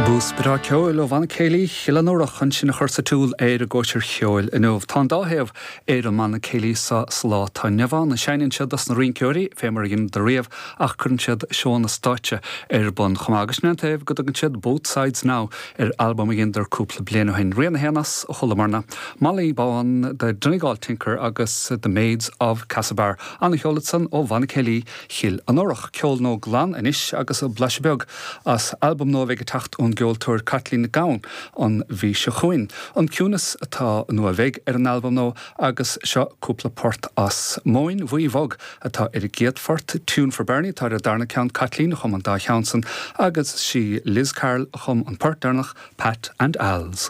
Bús breá ceoil ó Bhanna Céilí Chill an Iúrach ansin a chur sa tsiúl ar an gcóisir cheoil inniu. Tá an dá thaobh ar an mbanna céilí seo sa lá atá inniu ann. Seinneann siad dos na rinceoirí, fé mar a dheineadar riamh, ach cuireann siad seónna stáitse ar bun chomh maith. Agus sin é an taobh go dtugann siad Both Sides Now ar albam a dheineadar cúpla bliain ó shin. Rian a haon as a chualamar ná Molly Bán, The Donegal Tinker agus The Maids of Castlebar. Ana-cheol ansan ó Bhanna Céilí Chill an Iúrach. Ceol nua glan anois agus blaiseadh beag as albam nua a bheidh ag teacht ón gceoltóir Caitlín Nic Gabhann an mhí seo chugainn. An Ciúnas atá, nó a bheidh, ar an albam nua agus seo cúpla port as. Móin Bhuí Bhog atá ar an gcéad phort, Tune for Bernie atá ar an darna ceann, Caitlín a chum an dá cheann san agus sí Liz Carroll a chum an port deireanach, Pat and Al's.